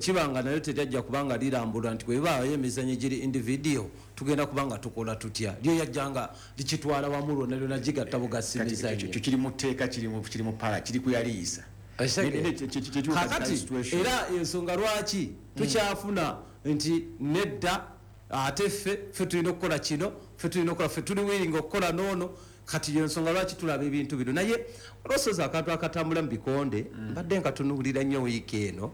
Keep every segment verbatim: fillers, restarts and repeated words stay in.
Kibanga nayo teryajja kubanga lirambulwa nti bwebaayo emizanyo egiri individual, tugenda kubanga tukola tutya? Lyo yajjanga likitwala wamu lwonna lyona, gigatta bugasi Kati mizanyo. Ekyo kiri mu tteeka, kiri mu kiri mu pala, kiri kuyaliisa. Kakati era ensonga lwaki tukyafuna nti nedda, ate ffe ffe tulina okukola kino, ffe tulina okukola, ffe tuli willing okukola noono. Kati yensonga lwaki tulaba ebintu bino. Naye olwosoza akantu akatambula mu bikonde, mbadde nkatunuulira nnyo wiiki eno.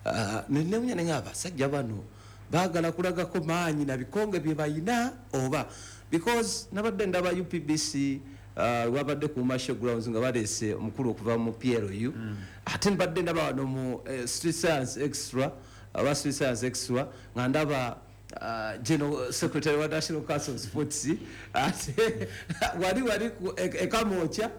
Ah, nenewunya naye abasajja bano baagala kulagako maanyi na bikonge bye bayina oba? Because nabadde ndaba U P B C, uh, wabadde ku Masho Grounds nga baleese omukulu okuva mu P L U. Ate mbadde ndaba wano mu eh, Street Science Extra, aba Street Science Extra, nga ndaba uh, general secretary wa National Council of Sports. Ate wali wali ku e- ekamokya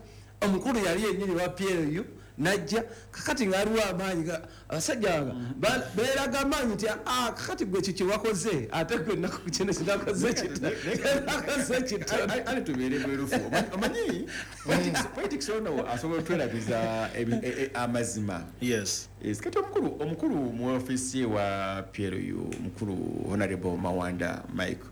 omukulu yali yennyini wa P L U najja. Kakati ngaaliwo amaanyi ga- abasajja nga ba- beeraga amaanyi nti, "Ah, kakati gwe kiki wakoze, ate gwe naku kino kinakoze kito, nakoze kitono." Ali tubeere bwerufu. Omanyi- omanyi politics- politics ono asobola otwerabiza ebi- e- e- amazima. Yes. Yes, kati omukulu omukulu mu ofiisi ye wa P L U, omukulu Honorable Mawanda Mike,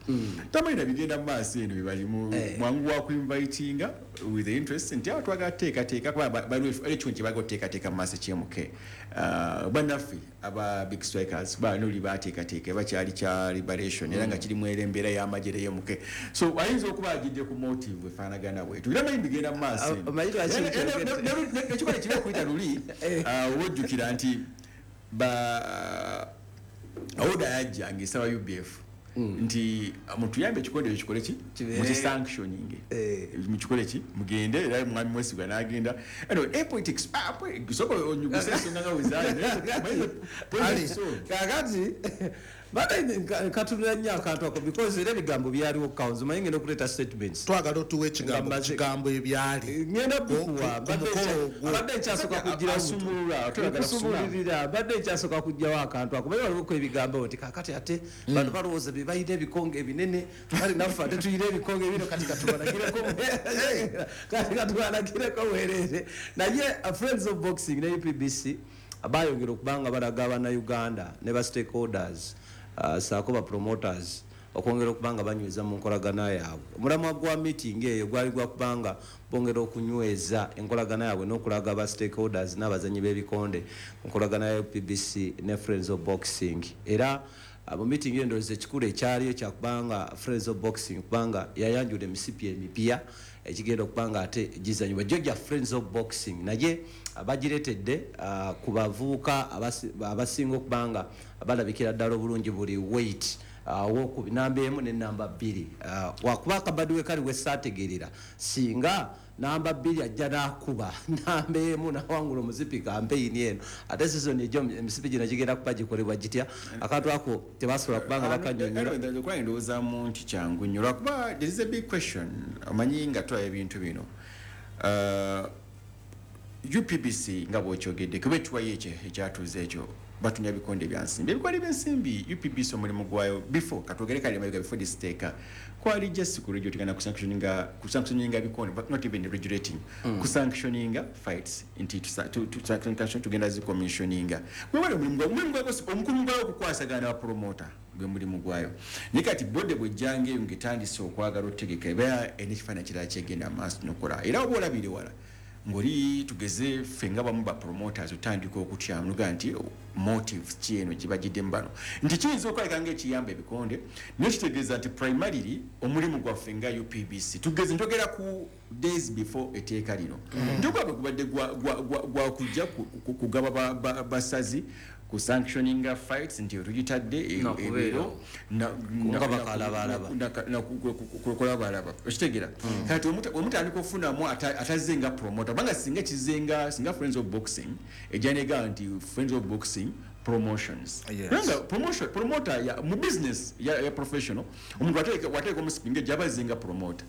tamanyi bigenda mu maaso eno bebalimu. Eh. Mwangu wa kuinvitinga with the interest nti awo twagala teekateeka, kuba ba- baliwo ekintu kye bagala oteekateeka mu maaso ekyemuke. Bannaffe aba Big Strikers banoli bateekateeka, bakyali kya liberation era nga kirimu era embeera y'amagye eyemuke, so ayinza okuba agidde ku motive efaanagana bwetu, era manyi bigenda mu maaso eno. Omanyi lwaki Era- era- nkyogedde? ne- ne- nekikola ekibi okuyita luli, ah, wojjukira nti ba order yajja ngaesaba U B F nti mutuyambe ekikonde ekyo kikole ki? Kibeere- Mukisanctioning. Eh. Mukikole ki? Mugende. Era mwami Mwesigwa n'agenda. Anyway, eh, politics, ah, politics, soka onyuguse ensonga nga wezaali. Ali. Kakati badde nkatunula nnyo akantu ako because era ebigambo byaliwo council, manyi ngenda okuleeta statements. Twagala otuwa ekigambo Nga mmaze- kigambo ebyali Ngenda Ku- bikuwa. ku- ku mukolo ogwo. Mbadde nkyasooka kugirawo. Asumulula, twagala kusumulula. Kusumulirira, mbadde nkyasooka kugjawo akantu ako. Baye waliwoko ebigambo nti kakati ate bano balowooza be balina ebikonge ebinene, kale naffe ate tulina ebikonge bino, kati katubalagireko kati katubalagireko bwereere. Naye uh, Friends of Boxing ne U P B C bayongera okuba nga balaga Abannayuganda ne ba stakeholders, uh, saako ba promoters, okwongera okuba nga banyweza mu nkolagana yaabwe. Omulamwa gwa meeting eyo gwali gwa kubanga bongera okunyweza enkolagana yaabwe n'okulaga ba stakeholders n'abazanyi b'ebikonde nkolagana ya U P B C ne Friends of Boxing. Era uh, mu meeting eyo, ndowooza ekikulu ekyaliyo kyakubanga Friends of Boxing kubanga yayanjula emisipi emipya ekigenda okuba nga ate gizanyibwa gyo gya Friends of Boxing, naye uh, bagireetedde uh, ku bavubuka abasi- abasinga okuba nga balabikira ddala obulungi buli weight, wokubi namba emu ne namba bbiri. uh, wakuba akabadi we kali wesaategerera, singa namba bbiri ajja nakuba namba emu nawangula omuzipi kampeyini eno, ate season ejo emisipi gino gigenda kuba gikolebwa gitya? Akantu ako tebasobola kubanga bakanyonyola. Okuba ndowoozamu nti kyangu nnyo, lwakuba there is a big question. Omanyi nga tulaba ebintu bino, Uh, U P B C nga bwokyogedde, kuba ekiwayo ekyo ekyatuuze ekyo batunya bikonde bya nsimbi, ebikonde by'ensimbi. U P B C omulimu gwayo before, katwogere kale mabega, before this teeka, kwali just ku regulating na kusanctioninga kusanctioninga bikonde, but not even regulating, mm. kusanctioninga fights nti tusa- tu- tu- sanction tugenda zicommissioninga. Gwewali omulimu gwayo, omulimu gwayo omukulu gwayo okukwasagana ba promoter, gwe mulimu gwayo. Naye kati body bwejjanga eyo ngaetandise okwagala otegeka, eba erina ekifaananyi kirala kyegenda maaso nokola. Era oba olabire wala ng'oli tugeze ffe nga bamu ba promoters otandika okutyamu nogaa nti motive ki eno gibagiddemu bano, nti kiyinza okwaleka nga ekiyamba ebikonde, naye kitegeeza nti primarily omulimu gwaffe nga U P B C, tugeze njogera ku days before etteeka lino, nti ogwabwe gubadde gwakujja kugaba basazi ku sanctioninga fights nti tugitadde ebiro kulabalaba, okitegeera? Kati omutandika okufunamu atazze nga promoter, kubanga singa kizenga singa Friends of Boxing ejja nega nti Friends of Boxing Promotions, kubanga promotion promoter ya mu business ya, ya professional, omuntu wateeka wateeka omusipinga ejja abazenga promoter,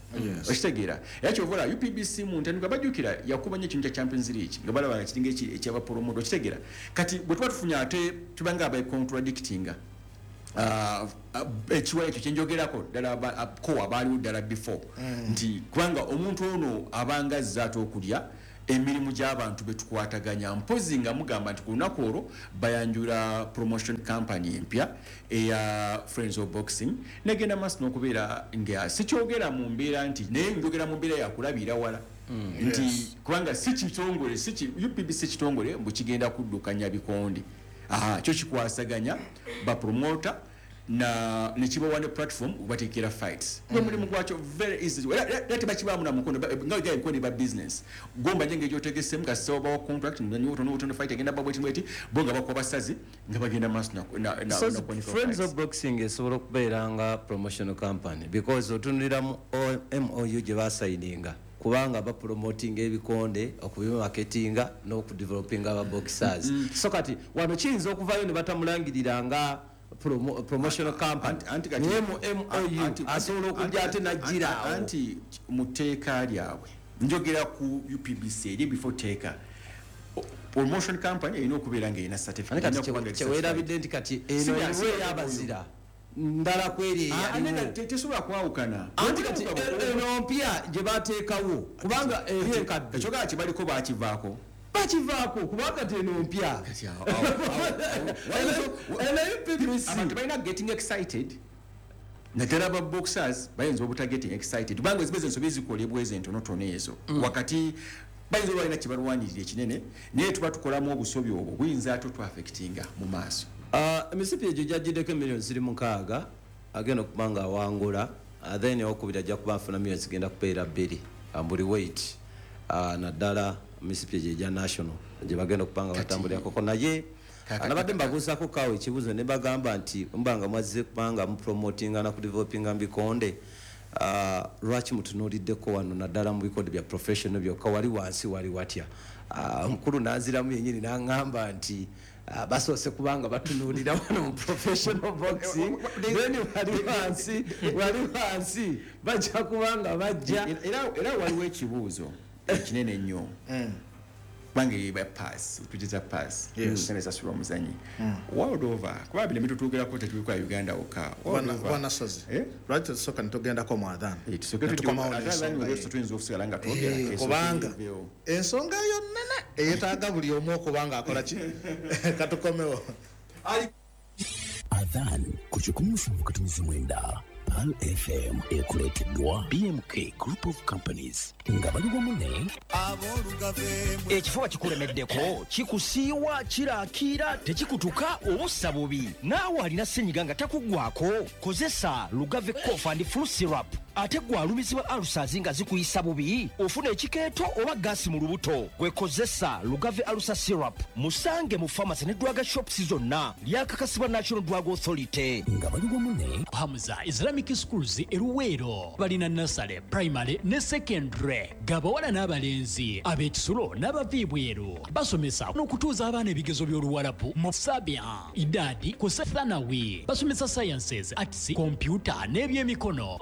okitegeera? Era kyovola U P B C mu ntandikwa bajjukira yakuba nnyo ekintu kya Champions League nga balaba nga kiringa ekyaba promoter, okitegeera? Kati bwe tuba tufunye ate tubanga aba contradictinga uh, uh, ekiwa ekyo kyenjogerako ddala kowa baaliwo ddala before mm. nti kubanga omuntu ono abanga azze ate okulya Emirimu gy'abantu betukwataganya, mpozi nga mugamba nti ku lunaku olwo bayanjula promotion company empya eya Friends of Boxing, negenda maaso n'okubeera nga sikyogera mu mbeera nti, naye njogera mu mbeera yakulabira wala nti kubanga si kitongole, si ki- U P B C kitongole mbu kigenda kuddukanya bikonde. Aha, kyo kikwasaganya bapromota na nekibawa ne platform bateekera fights mm. Mulimu gwakyo very easy, era era tebakibaamu na mukono ba- nga ga ebikono ba business gomba nje ng'egyotegesemu kasita obawa contract notono fight egenda babweti bweti, bo nga bakuba basazi nga bagenda maaso na- na- na- So na kuwanika Friends fights. of Boxing esobola okubeera nga promotional company because otunulira mu M O U gye basayininga, kubanga bapromotinga ebikonde, okubimaketinga n'okudevelopinga ababoxers. So kati wano kiyinza okuvayo ne batamulangirira nga promo, promotional company, Anti- anti kati- naye mu M O U anti- asobola okujja ate anti- najjira awo. Anti mu tteeka lyabwe, njogera ku U P B C eri before teeka, O- promotion company erina okubeera nga erina certificate. Ate kati Erina okuba nga eri kyeweerabidde nti kati eno Si bya- eriwo si bya ey'abazira ndala kweri Ah, ate nga eyaliwo. te- tesobola kwawukana. Anti kati eno mpya gye bateekawo, kubanga eri enkadde Ekyogera kibaliko bakivaako. Bakivaako kubanga ti eno mpya. Kati awo- awo- awo- Eno U P B C abantu balina getting excited, naddala ba boxers bayinza obuta getting excited kubanga eziba ensobi zikolebwa ezo entonotono ezo wakati bayinza oba balina kyebalwanirira ekinene, naye tuba tukolamu obusobi obwo buyinza ate otwaffectinga mu maaso. Ah, emisipi egyo gyagiddeko emiliyoni ziri mukaaga agenda okuba nga awangula. Ah, then owokubiri ajja kuba afuna miliyoni zigenda kubeera bbiri ah, buli weight. Ah, naddala emisipi egyo egya national gye bagenda okuba nga batambulirako, naye Kaka- nabadde mbabuuzaako kaawo ekibuuzo ne bagamba nti muba nga mwazze kubanga mupromotinga na kudevelopinga mu bikonde, ah, lwaki mutunuuliddeko wano naddala mu bikonde bya professional byokka? Wali wansi wali watya? Ah, omukulu nanziramu yenyini naŋŋamba nti ah, basoose kubanga batunuulira wano mu professional boxing, then wali wansi wali wansi bajja kubanga bajja. era era waliwo ekibuuzo ekinene ennyo, kubanga eba pass, tugeza pass sente esasulwa omuzanyi world over, kuba bino bitutuugerako tetubikola Uganda wokka. World over. Bwana Sozi, Eh? lwaki tetusooka netugendako mu adhan? Eh, tusooke Netukomawo tujje- ate n'ensonga adhan eyo. olwo tuyinza okusigala nga twogera. Eh, Esooke kubanga eveewo. Ensonga eyo nene eyetaaga buli omu okuba nga akola ki. Katukomewo. Adhan ku kikumi musanvu katonnyeze mwenda Pearl F M ekuleeteddwa B M K Group of Companies nga bali wamu ne Ekifuba kikulemeddeko, kikusiiwa, kiraakiira, tekikutuka oba ossa bubi, naawe alina senyiga nga takuggwako, kozesa Lugave Cough and Flu Syrup. Ate gwe alumizibwa ulcers nga zikuyisa bubi, ofuna ekikeeto oba gaasi mu lubuto, gwe kozesa Lugave Ulcer Syrup. Musange mu pharmacy ne drug shops zonna. Lyakakasibwa National Drug Authority. Nga bali wamu ne Hamza Islamic Schools eruweero balina nursery, primary ne secondary, gabawala n'abalenzi, ab'ekisulo n'abava ebweru. Basomesa n'okutuuza abaana ebigezo by'Oluwalabu mu sabia, idadi ku thanawi. Basomesa sciences, arts, kompyuta n'ebyemikono.